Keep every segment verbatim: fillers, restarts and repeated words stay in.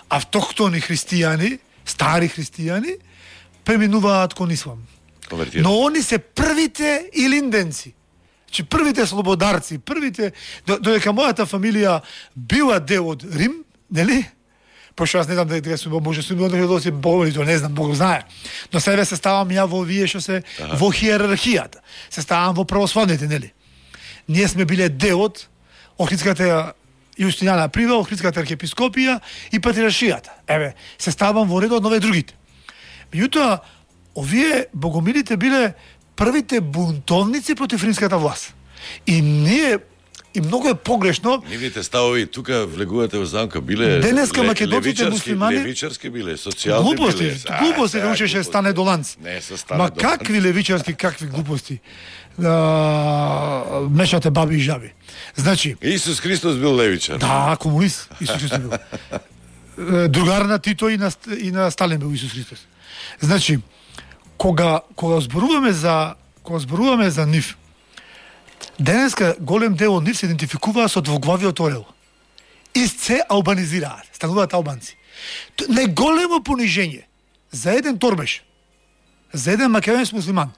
автохтони христијани, стари христијани, преминуваат кон ислам. Но они се првите илинденци. Че првите слободарци, првите, додека мојата фамилија била дел од Рим, нели? Пошто јас не знам дека сум може сум од се болни, тоа не знам, Бог знае. Но себе се ставам ја во вие што се ага. Во хиерархијата. Се ставам во православните, нели? Ние сме биле дел од Охридската Јустинијана Прива, Охридската архиепископија и патриаршијата. Еве, се ставам во редот на овие другите. Меѓутоа, овие богомилите биле првите бунтовници против римската власт. И ние и многу е погрешно. Нивните ставови тука влегувате во замка биле денеска македонците муслимани левичарски биле, социјални глупости, биле. Глупости, да учеше стане доланци. Не се стане. Ма какви левичарски, какви глупости? А, мешате баби и жаби. Значи, Исус Христос бил левичар. Да, комунист Исус Христос бил. Другар на Тито и на и на Сталин бил Исус Христос. Значи, кога кога зборуваме за кога зборуваме за нив, денеска голем дел од нив се идентификуваа со двоглавиот орел. И се албанизираат, стануваат албанци. Најголемо понижење за еден торбеш, за еден македонец муслиман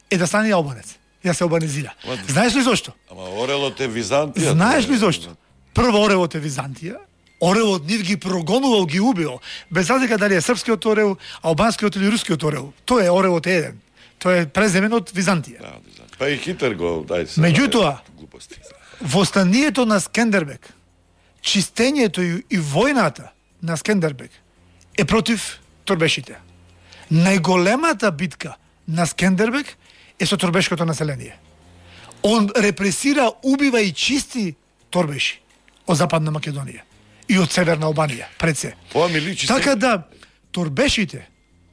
е да стане албанец, и да се албанизира. Знаеш ли зошто? Ама орелот е Византија. Знаеш ли зошто? Прво орелот е Византија, орелот нив ги прогонувал, ги убил, без разлика дали е српскиот орел, албанскиот или рускиот орел. Тој е орелот е еден. Тој е преземен од Византија. Да, па и Хитер го дај се. Меѓутоа, во станието на Скендербек, чистењето и, и војната на Скендербек е против торбешите. Најголемата битка на Скендербек е со торбешкото население. Он репресира, убива и чисти торбеши од Западна Македонија и од Северна Албанија, пред се. Ова ми личи. Така да, торбешите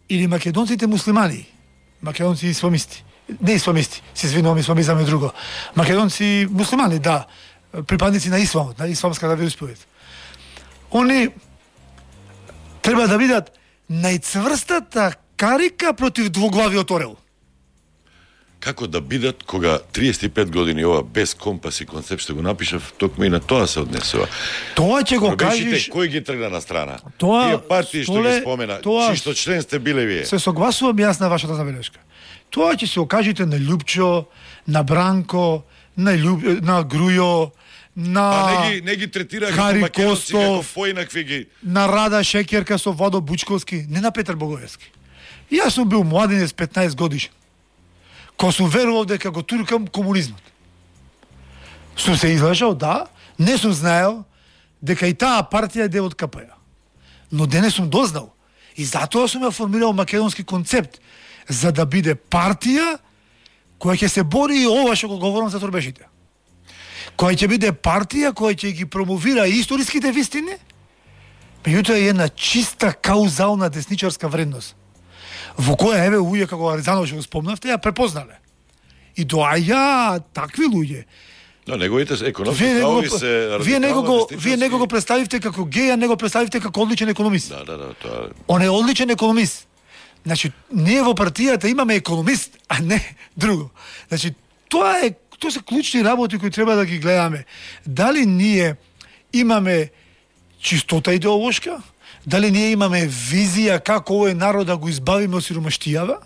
или македонците муслимани, македонци исламисти, не исламисти, се извинувам, исламизам е друго. Македонци муслимани, да, припадници на исламот, на исламската вероисповед. Они треба да бидат најцврстата карика против двоглавиот орел. Како да бидат кога триесет и пет години ова без компас и концепт што го напишав, токму и на тоа се однесува. Тоа ќе го кажеш. Кој ги тргна на страна? Тоа, тие партии што ги спомена, тоа, чисто член сте биле вие. Се согласувам јас на вашата забелешка. Тоа ќе се окажете на Љупчо, на Бранко, на Љуб... на Грујо, на а не ги не ги третираат како македонци, како поинакви ги. На Рада Шекерка со Владо Бучковски, не на Петар Богоевски. Јас сум бил младенец петнаесет годишен. Ко сум верувал дека го туркам комунизмот. Сум се излажал, да, не сум знаел дека и таа партија е дел од Ка Пе Ја. Но денес сум дознал. И затоа сум ја формирал македонски концепт, за да биде партија која ќе се бори и ова што го говорам за торбешите. Која ќе биде партија која ќе ги промовира историските вистини, меѓутоа е една чиста каузална десничарска вредност, во која еве луѓе како Аризанов што го спомнавте ја препознале. И доаѓа такви луѓе. Но неговите економски ставови се вие него го вие него го представивте како геј, а него представивте како одличен економист. Да, да, да, тоа. Он е одличен економист. Значи, ние во партијата имаме економист, а не друго. Значи, тоа е тоа се клучни работи кои треба да ги гледаме. Дали ние имаме чистота идеолошка? Дали ние имаме визија како овој народ да го избавиме од сиромаштијава?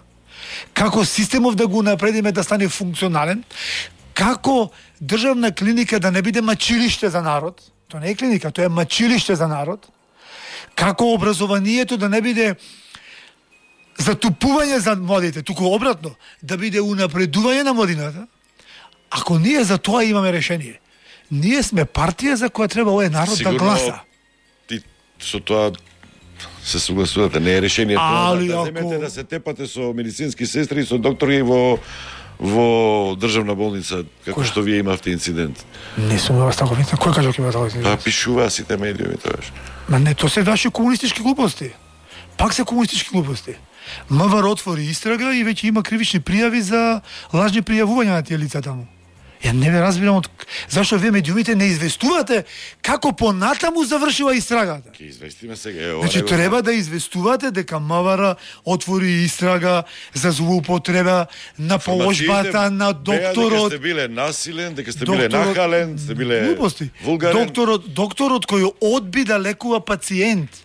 Како системов да го напредиме да стане функционален? Како државна клиника да не биде мачилиште за народ? Тоа не е клиника, тоа е мачилиште за народ. Како образованието да не биде затупување за младите, туку обратно, да биде унапредување на младината? Ако ние за тоа имаме решение, ние сме партија за која треба овој народ сигурно, да гласа. Ти со тоа се согласувате, не е решение тоа да, да земете ако... да се тепате со медицински сестри и со доктори во во државна болница, како Кој? Што вие имавте инцидент. Не сум во таков инцидент. Кој кажа дека има таков инцидент? Па пишуваа сите медиуми тоаш. Ма не, тоа се ваши комунистички глупости. Пак се комунистички глупости. МВР отвори истрага и веќе има кривични пријави за лажни пријавувања на тие лица таму. Ја не ве разбирам од зашто вие медиумите не известувате како понатаму завршила истрагата. Ќе известиме сега. Е, Значи го... треба да известувате дека МВР отвори истрага за злоупотреба на положбата на докторот. Дека сте биле насилен, дека сте биле нахален, сте биле глупости. вулгарен. Докторот, докторот кој одби да лекува пациент.